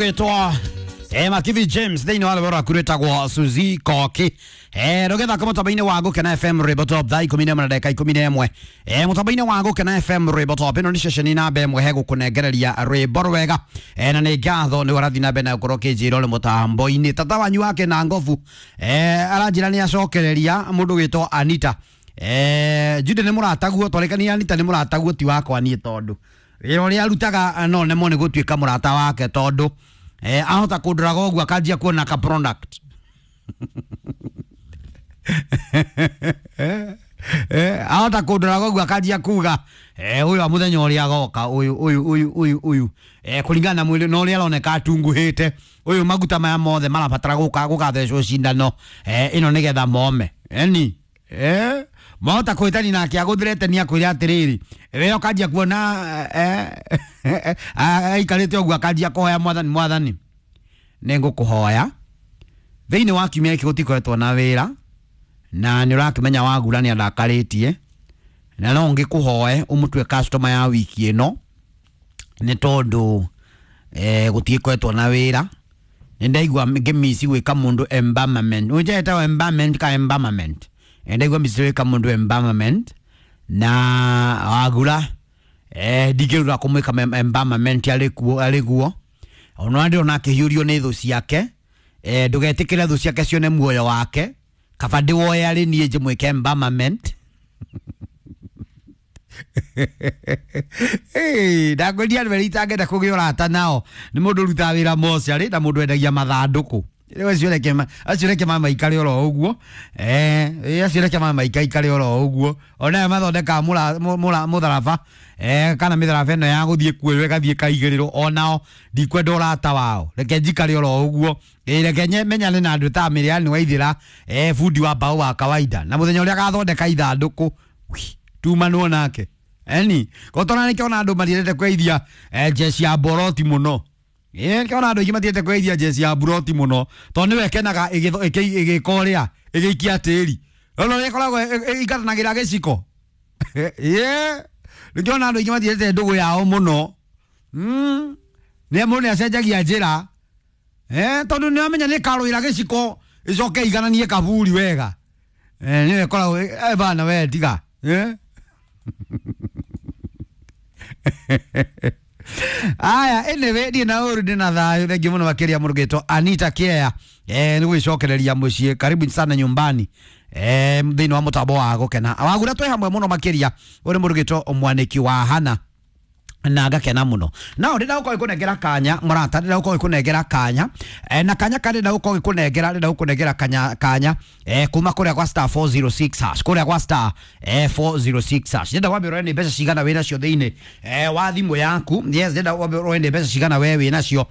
Gwitwo Makithi James thĩinĩ wa rwĩmbo rwaku rwĩtagwo Suzy Koki. Rũgĩthaka mũtambo-inĩ wa Gũkena FM rwĩmbo top thaa 11 na ndagĩka 11. Mũtambo-inĩ wa Gũkena FM rwĩmbo top ĩno nĩ ceceni namba ĩmwe he gũkũnengereria rwĩmbo rwega. Na nĩ ngatho nĩ ũrathiĩ na mbere na gũkorwo ũkĩnjĩra ũrĩ mũtambo-inĩ. Tata wanyu wake na ngobu aranjĩra nĩ acokereria mũndũ wĩtwo Anita. Jude nĩ mũrataguo twarĩkania Anita nĩ mũrataguo ti wakwa niĩ tondũ wĩra ũrĩa arutaga no nemwo nĩ gũtuĩka mũrata wake tondũ ahota kũndoraga ũguo akanjia kuona ka product. Ahota kũndoraga ũguo akanjia kuga ũyũ wa mũthenya ũrĩa agoka ũyũ ũyũ ũyũ ũyũ ũyũ kũringana na mwĩrĩ na ũrĩa aroneka atunguhĩte ũyũ maguta maya mothe marabatara gũka gũgathecwo cindano ĩno nĩgetha mome eni mahota kwĩtani nake agũthirete nĩ akwĩre atĩrĩrĩ we ũkanjia kuona aikarĩte ũguo akanjia kũhoya mwathani mwathani nĩ ngũkũhoya thĩinĩ wa kiumia gĩkĩ gũtikoretwo na wĩra na nĩ ũrakĩmenya wagura nĩ andakarĩtie na no ngĩkũhoe ũmũtue customer ya wiki ĩno nĩ tondũ gũtigĩkoretwo na wĩra nĩ ndaigua ngĩmici gwĩka mũndũ embalmment ũnjetagwo embalmment ka embalmment ndaigua mici gwĩka mũndũ embalmment na wagura ndingĩrura kũmwĩka embalmment arĩ guo ona ndĩrona akĩhiũrio nĩ thũ ciake ndũgetĩkĩre thũ ciake cione muoyo wake kaba ndĩwoe arĩ niĩ njĩmwĩke embalmment. Ndakwĩria andũ erĩ itangĩenda kũgĩa ũrata nao nĩ mũndũ ũrutaga wĩra mocarĩ na mũndũ wendagia mathandũkũ. Rĩu acio reke mamaikare oro ũguo acio reke mamaikaikare oro ũguo onayo mathondekaga mũtharaba kana mĩtharaba ĩno ya gũthiĩ kuoywo ĩgathiĩ ĩkaigĩrĩrwo onao ndikwenda ũrata wao reke njikare oro ũguo. Reke menyane na andũ ta Mĩrĩani Waithĩra bundi wa mbaũ wa kawaida na mũthenya ũrĩa agathondeka ithandũkũ tumanwo nake eni gotona nĩkĩona andũ matiendete kweithia njeci ya mboroti mũno. Nĩkĩona andũ aingĩ matiendete kweithia njeci ya mburoti mũno tondũ nĩwe ĩkenaga ĩgĩka ũrĩa ĩgĩikia tĩri ona ũrĩa ĩkoragwo ĩingatanagĩra gĩciko. Nĩkĩona andũ aingĩ matiendete ndũgũ yao mũno nĩ mũndũ nĩacenjagia njĩra tondũ nĩamenya nĩkarũĩra gĩciko ĩcoke ĩigananie kaburi wega nĩwe ĩkoragwo bana we tiga. Aya anyway ndiĩ na ũru ndĩ na thayũ thengiũ mũno makĩria mũndũ gĩtwo Anita Kea nĩ gwĩcokereria mũciĩ karibu sana nyumbani thĩinĩ wa mũtambo wa Gũkena wagura twĩ hamwe mũno makĩria ũrĩ mũndũ gĩtwo mwanĩki wa Hana na ngakena mũno nao ndĩrenda gũkorwo ngĩkũnengera kanya mũrata ndĩrenda gũkorwo ngĩkũnengera kanya na kanya karĩa ndĩrenda gũkorwo ngĩkũnengera ndĩrenda gũkũnengera kanya kanya kuma kũrĩa gwa star 406 hash kũrĩa gwa star 406 hash ndĩrenda wambe ũrore nĩ mbeca cigana wĩ nacio thĩinĩ wa thimũ yaku. Yes, ndĩrenda wambe ũrore nĩ mbeca cigana we wĩ nacio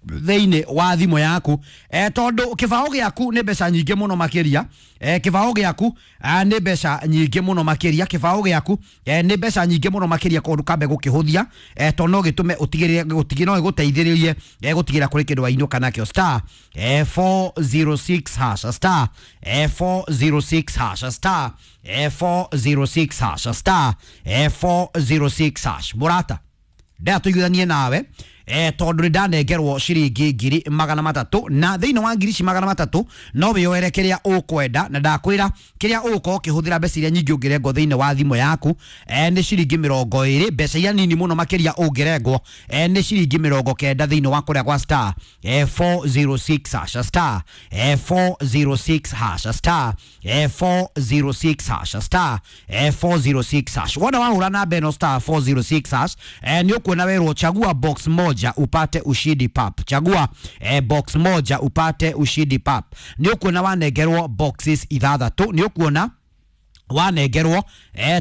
thĩinĩ wa thimũ yaku tondũ kĩbaũ gĩaku nĩ mbeca nyingĩ mũno makĩria kĩbaũ gĩaku nĩ mbeca nyingĩ mũno makĩria kĩbaũ gĩaku nĩ mbeca nyingĩ mũno makĩria koguo ndũkambe gũkĩhũthia tondũ no gĩtũme ũtigĩrĩre no gĩgũteithĩrĩrie gũtigĩrĩra kũrĩ kĩndũ wainũka nakĩo star 406 hash star 406 hash star 406 hash star 406 hash mũrata ndatũiguithanie nawe tondũ nĩ ndanengerwo ciringi 300,000 na thĩinĩ wa ngiri ici 300 no wĩyoere kĩrĩa ũkwenda na ndakwĩra kĩrĩa ũgũkorwo ũkĩhũthĩra mbeca iria nyingĩ ũngĩrengwo thĩinĩ wa thimũ yaku nĩ ciringi 20 mbeca iria nini mũno makĩria ũngĩrengwo nĩ ciringi 90 thĩinĩ wa kũrĩa gwa star 406 hash star 406 hash star 406 hash star 406 hash wona wahũra namba ĩno star 406 hash nĩ ũkuona werwo chagua box moja upate ushindi pap chagua box moja upate ushindi pap nĩ ũkuona wanengerwo boxes ithathatũ nĩ ũkuona wanengerwo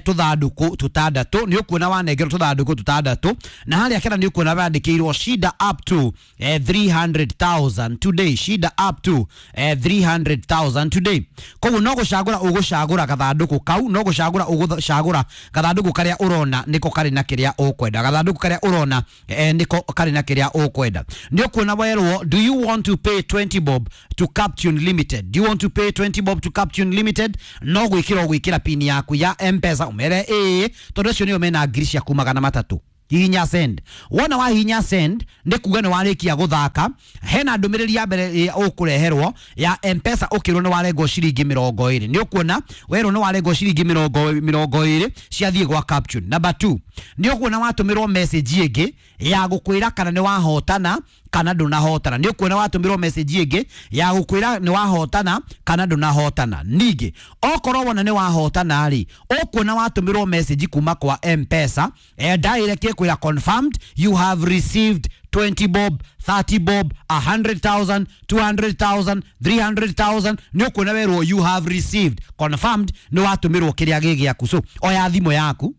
tũthandũkũ tũtandatũ nĩ ũkuona wanengerwo tũthandũkũ tũtandatũ na harĩa kena nĩ ũkuona wandĩkĩirwo shida up to 300,000 today shida up to 300,000 today koguo no gũcagũra ũgũcagũra gathandũkũ kau no gũcagũra ũgũcagũra gathandũkũ karĩa ũrona nĩko karĩ na kĩrĩa ũkwenda gathandũkũ karĩa ũrona nĩko karĩ na kĩrĩa ũkwenda nĩ ũkuona werwo do you want to pay 20 bob to Captune Limited do you want to pay 20 bob to Captune Limited no gwĩkĩra ũgwĩkĩra pin yaku ya M-Pesa umere ĩĩ tondũ acio nĩo mena ngiri ciaku 300. Hihinya send. Wona wahihinya send nĩ kuga nĩ warĩkia gũthaka. Hena ndũmĩrĩri ya mbere ũkũreherwo ya Mpesa ũkĩrwo nĩ warengwo ciringi 20. Nĩ ũkuona werwo nĩ warengwo ciringi 20 ciathiĩ gwa caption. Number 2, nĩ ũkuona watũmĩrwo message ĩngĩ ya gũkwĩra kana nĩ wahotana kana ndũnahotana. Nĩ ũkuona watũmĩrwo message ĩngĩ ya gũkwĩra nĩ wahotana kana ndũnahotana. Ningĩ okorwo wona nĩ wahotana rĩ, ũkuona watũmĩrwo message kuma kwa Mpesa direct ĩkwĩra confirmed you have received 20 bob, 30 bob, 100,000, 200,000, 300,000. Nĩ ũkuona werwo you have received confirmed nĩ watũmĩrwo kĩrĩa gĩ gĩaku. So oya thimũ yaku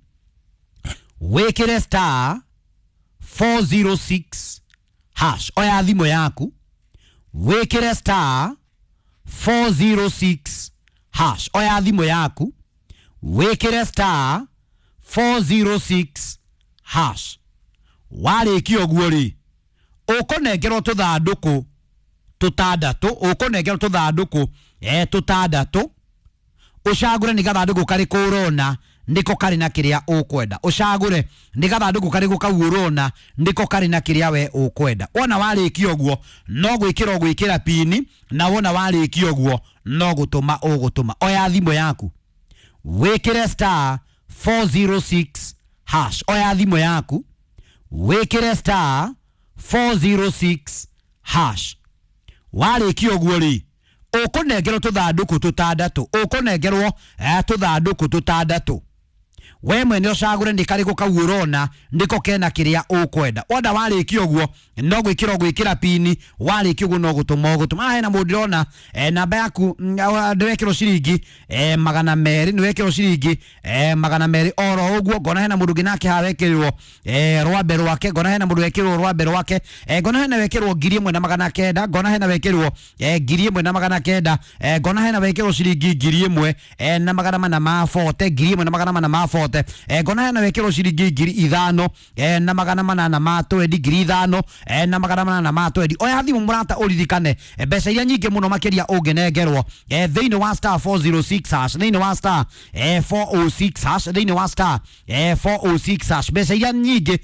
wĩkĩre star 406 hash. Oya thimũ yaku wĩkĩre star 406 hash. Oya thimũ yaku wĩkĩre star 406 hash. Warĩkia ũguo rĩ, ũkũnengerwo tũthandũkũ tũtandatũ, ũkũnengerwo tũthandũkũ tũtandatũ, ũcagũre nĩ gathandũkũ karĩkũ ũrona nĩko karĩ na kĩrĩa ũkwenda. Ũcagũre nĩ gathandũkũ karĩkũ kau ũrona nĩko karĩ na kĩrĩa we ũkwenda. Wona warĩkia ũguo no gwĩkĩra ũgwĩkĩra pini, na wona warĩkia ũguo no gũtũma ũgũtũma. Oya thimũ yaku wĩkĩre star 406 hash. Oya thimũ yaku wĩkĩre star 406 hash. Warĩkia ũguo rĩ, ũkũnengerwo tũthandũkũ tũtandatũ, ũkũnengerwo tũthandũkũ tũtandatũ. We mwene ũcagũre nĩ karĩkũ kau ũrona nĩko kena kĩrĩa ũkwenda. Wona warĩkia ũguo no gwĩkĩra ũgwĩkĩra pini, warĩkia ũguo no gũtũma ũgũtũma. Hena mũndũ ndĩrona namba yaku ndĩwekĩrwo ciringi 200, nĩwekĩrwo ciringi 200 oro ũguo. Ngona hena mũndũ ũngĩ nake haha wekĩrwo rwambe rwake, ngona hena mũndũ wekĩrwo rwambe rwake, ngona hena wekĩrwo 1900, ngona hena wekĩrwo 1900, ngona hena wekĩrwo ciringi 1440, 1440, ngona hena wekĩrwo ciringi 5820, 5820. Oya thimũ mũrata ũririkane mbeca iria nyingĩ mũno makĩria ũngĩnengerwo thĩinĩ wa star 406 hash, thĩinĩ wa star 406 hash, thĩinĩ wa star 406 hash, mbeca iria nyingĩ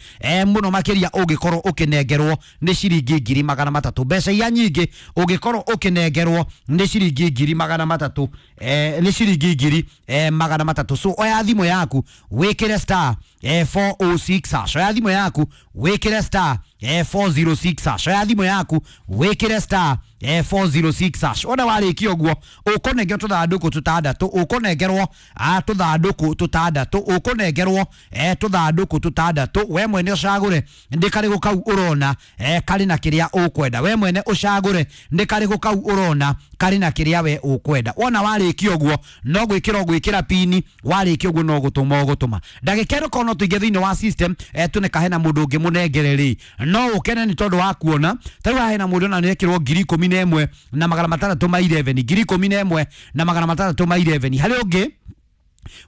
mũno makĩria ũngĩkorwo ũkĩnengerwo nĩ ciringi 300. Mbeca iria nyingĩ ũngĩkorwo ũkĩnengerwo nĩ ciringi 300, nĩ ciringi 300. So oya thimũ yaku wĩkĩre star 406 hash. Oya thimũ yaku wĩkĩre star 406 hash. Oya thimũ yaku wĩkĩre star 406 hash. Wona warĩkia ũguo ũkũnengerwo tũthandũkũ tũtandatũ, ũkũnengerwo tũthandũkũ tũtandatũ, ũkũnengerwo tũthandũkũ tũtandatũ. We mwene ũcagũre nĩ karĩkũ kau ũrona karĩ na kĩrĩa ũkwenda. We mwene ũcagũre nĩ karĩkũ kau ũrona karĩ na kĩrĩa we ũkwenda. Wona warĩkia ũguo no gwĩkĩra ũgwĩkĩra pini, warĩkia ũguo no gũtũma ũgũtũma. Ndagĩka ĩno korwo no tũingĩ thĩinĩ wa system tune hena mũndũ ũngĩ mũnengere rĩ, no ũkene nĩ tondũ wa kuona ta rĩu haha hena mũndũ ona nĩekĩrwo 11,611, 11,611. Harĩ ũngĩ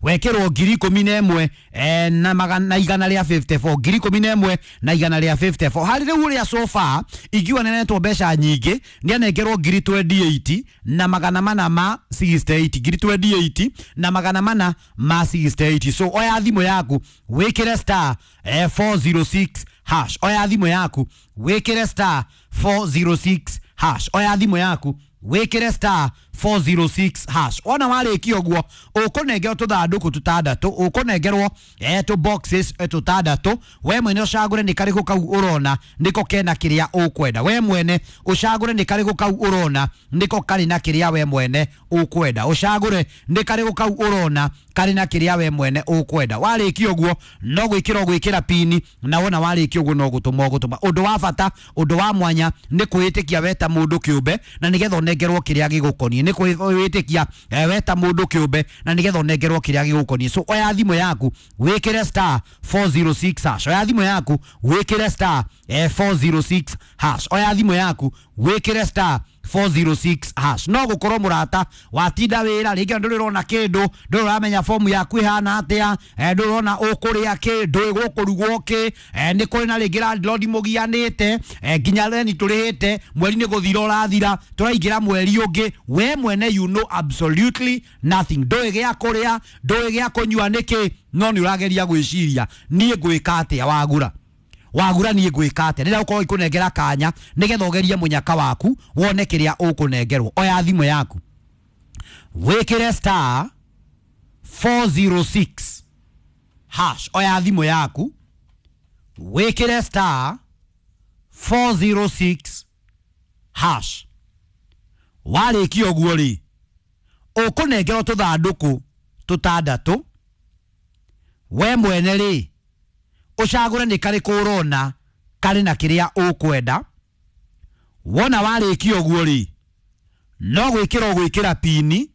wekĩrwo 11,154, 11,154. Harĩ rĩu ũrĩa so far ingiuga nĩanetwo mbeca nyingĩ, nĩanengerwo 28,468, 28,468. So oya thimũ yaku wĩkĩre star 406 hash. Oya thimũ yaku wĩkĩre star 406 hash. Oya thimũ yaku wĩkĩre star 406 hash. Wona warĩkia ũguo ũkũnengerwo tũthandũkũ tũtandatũ, ũkũnengerwo tũ boxes tũtandatũ. We mwene ũcagũre nĩ karĩkũ kau ũrona nĩko kena kĩrĩa ũkwenda. We mwene ũcagũre nĩ karĩkũ kau ũrona nĩko karĩ na kĩrĩa we mwene ũkwenda. Ũcagũre nĩ karĩkũ kau ũrona karĩ na kĩrĩa we mwene ũkwenda. Warĩkia ũguo no gwĩkĩra ũgwĩkĩra pini, na wona warĩkia ũguo no gũtũma ũgũtũma. Ũndũ wa bata, ũndũ wa mwanya nĩ kwĩĩtĩkia we ta mũndũ kĩũmbe, na nĩgetha ũnengerwo kĩrĩa gĩgũkoniĩ. Nĩ kwĩĩtĩkia we ta mũndũ kĩũmbe, na nĩgetha ũnengerwo kĩrĩa gĩgũkoniĩ. So oya thimũ yaku wĩkĩre star 406 hash. Oya thimũ yaku wĩkĩre star 406 hash. Oya thimũ yaku wĩkĩre star 406 hash. No gukorwo murata watinda wira ringi ndurona kindu, nduramenya fomu yaku ihana atia, ndurona ukuria ki, ndui gukurugwo ki, ni kuri na ringi landlord mugianite, nginya reni turihite, mweri ni guthira urathira, turaingira mweri ungi, we mwene you know absolutely nothing. Ndui gia kuria, ndui gia kunyua niki, no ni urageria gwiciria nie ngwika atia wagura. Wagura nie ngwika atia rĩrĩa ũkorwo ikũnengera kanya nĩgetha ũgerie mũnyaka waku wone kĩrĩa ũkũnengerwo. Oya thimũ yaku wĩkĩre star 406 hash. Oya thimũ yaku wĩkĩre star 406 hash. Warĩkia ũguo rĩ, ũkũnengerwo tũthandũkũ tũtandatũ. We mwene rĩ, ucagure ni karĩkũ ũrona karĩ na kĩrĩa ũkwenda. Wona warĩkia ũguo rĩ, no gwĩkĩra ũgwĩkĩra pini,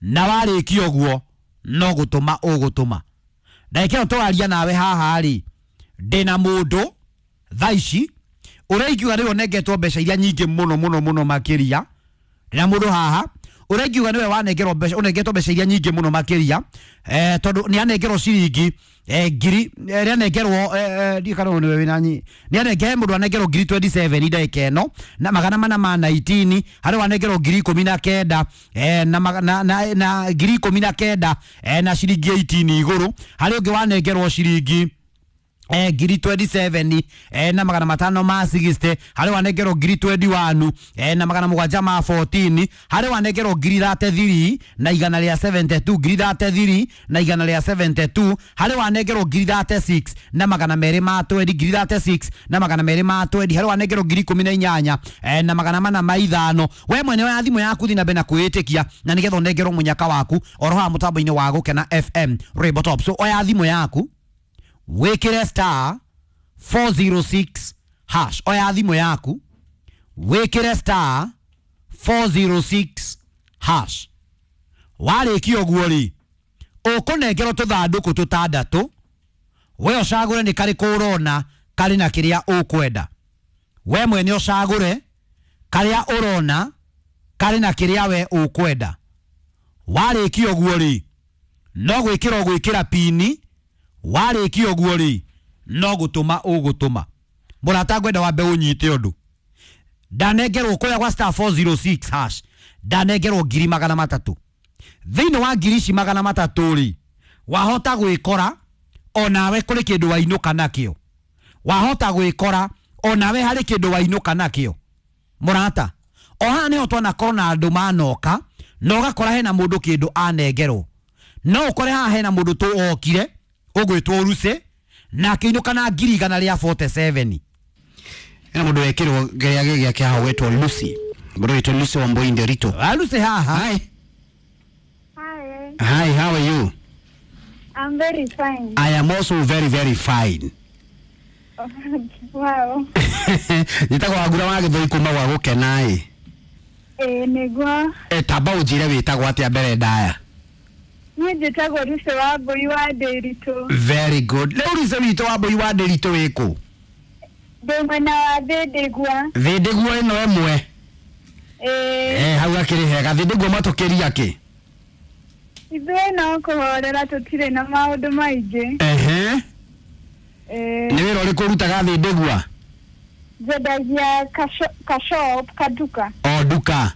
na warĩkia ũguo no gũtũma ũgũtũma. Ndagĩka ĩno tũraria nawe haha rĩ, ndĩna mũndũ thaa ici ũrĩa ingiuga nĩwe ũnengetwo mbeca iria nyingĩ mũno mũno mũno makĩria. Ndĩna mũndũ haha ũrĩa ingiuga nĩwe wanengerwo mbeca, ũnengetwo mbeca iria nyingĩ mũno makĩria, tondũ nĩ anengerwo ciringi ngiri nĩ anengerwo ndiũ kana nĩwe wĩna nyi, nĩ anengere mũndũ anengerwo ngiri 27 ndagĩka ĩno na magana mana ma 19, harĩ wanengerwo ngiri 19 na ngiri 19 na ciringi 18 igũrũ, harĩ ũngĩ wanengerwo ciringi ngiri 27 na magana matano ma 60, harĩ wanengerwo ngiri 21 na magana mũgwanja ma 14, harĩ wanengerwo ngiri 33 na igana rĩa 72, ngiri 33 na igana rĩa 72, harĩ wanengerwo ngiri 36 na magana merĩ ma 20, ngiri 36 na magana merĩ ma 20, harĩ wanengerwo ngiri 18 na magana mana ma ithano. We mwene wa thimũ yaku thiĩ na mbere na kwĩĩtĩkia na nĩgetha ũnengerwo mũnyaka waku oro haha mũtambo-inĩ wa Gũkena FM Rainbow Top. So oya thimũ yaku wĩkĩre star 406 hash. Oya thimũ yaku wĩkĩre star 406 hash. Warĩkia ũguo rĩ, ũkũnengerwo tũthandũkũ tũtandatũ. We ũcagũre nĩ karĩkũ ũrona karĩ na kĩrĩa ũkwenda. We mwene ũcagũre karĩa ũrona karĩ na kĩrĩa we ũkwenda. Warĩkia ũguo rĩ, no gwĩkĩra ũgwĩkĩra pini. Warĩkia ũguo rĩ, no gũtũma ũgũtũma. Mũrata ngwenda wambe ũnyite ũndũ. Ndanengerwo kũrĩa gwa star 406 hash, ndanengerwo ngiri magana matatũ. Thĩinĩ wa ngiri ici magana matatũ rĩ, wahota gwĩkora onawe kũrĩ kĩndũ wainũka nakĩo. Wahota gwĩkora onawe harĩ kĩndũ wainũka nakĩo. Mũrata, o haha nĩho twanakorwo na andũ manoka na ũgakora hena mũndũ kĩndũ anengerwo. No ũkore haha hena mũndũ tũ okire ũgwĩtwo Ruse na akĩinũka na ngiri igana rĩa 47. Ena mũndũ wekĩrwo kĩrĩa gĩake haha ũgwĩtwo Lucy. Mũndũ wĩtwo Lucy Wambui Nderito. Lucy haha. Hi. Hi. Hi, how are you? I'm very fine. I am also very very fine. Wow. Njĩtagwo Wangura wa Gĩthũi kuma gwa Gũkena ĩ. Ĩĩ nĩguo. Tamba ũnjĩre wĩtagwo atĩa mbere ndaya. Niĩ njĩtagwo Lucy Wambui wa Ndĩritũ. Very good. Rĩu Lucy witũ Wambui wa Ndĩritũ wĩkũ? Ndĩ mwena wa Thĩndĩgua. Thĩndĩgua ĩno ĩmwe. Ĩĩ. Hau hakĩrĩ hega. Thĩndĩgua matũkĩria kĩ? Ithuĩ no kũhorera tũtirĩ na maũndũ maingĩ. Ehe. Ĩĩ. Nĩ wĩra ũrĩkũ ũrutaga Thĩndĩgua? Njendagia kashop kaduka. O nduka.